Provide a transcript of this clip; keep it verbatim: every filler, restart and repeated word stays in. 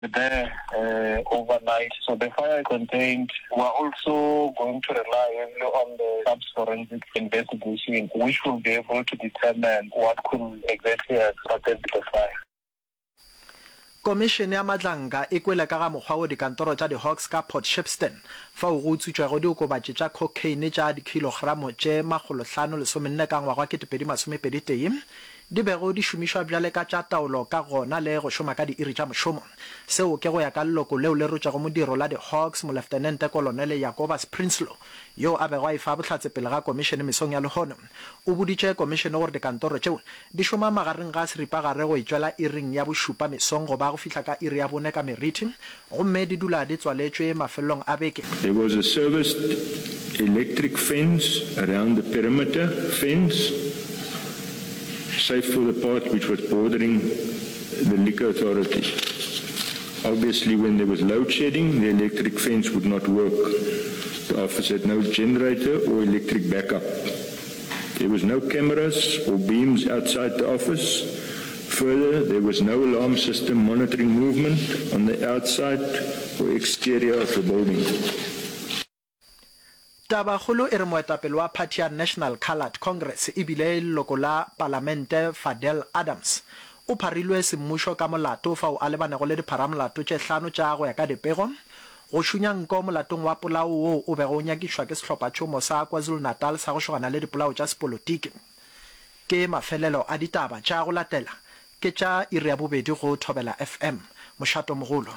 There uh, overnight. So the fire contained. We're also going to rely heavily on the SAPS forensic investigation, which will be able to determine what could exactly have started the fire. Komišene ya Madlanga e kwele ka ga mokgwa wo dikantoro tša di-Hawks ka Port Shepstone fao go utswitšwego diokobatši tša khokheine tša dikhilogramo tše makgolohlano lesomenne ka ngwaga wa ketepedi masomepedi tee di bego di šomišwa bjale ka tša taolo ka gona le go šoma ka diiri tša mošomo. Seo ke go ya ka leloko leo le rotšego modiro la di-Hawks, Moleftenente Kolonele Jacobus Prinsloo, yoo a bego a efa bohlatse pele ga komišene mesong ya lehono. O boditše komišene gore dikantoro tšeo di šoma magareng ga seripagare go etšwela iring ya bošupa mesong go ba go fihla ka iri ya bone ka meriti gomme di dula di tswaletšwe mafelelong a beke. There was a serviced electric fence around the perimeter fence, save for the part which was bordering the liquor authority. Obviously, when there was load shedding, the electric fence would not work. The office had no generator or electric backup. There was no cameras or beams outside the office. Further, there was no alarm system monitoring movement on the outside or exterior of the building. Tabakgolo e re moetapele wa phathi ya National Coloured Congress e bile e leloko la palamente Fadel Adams o pharilwe semmušo ka molato fao a lebanego le dipharamolato tše hlano tša go ya ka dipego go šunya nko molatong wa polao woo o bego o nyakišwa ke sehlophatšhomo sa KwaZulu-Natal sa go šogana le dipolao tša sepolotiki. Ke mafelelo a ditaba tša go latela ke tša iri ya bobedi go Thobela F M. Mošatomogolo.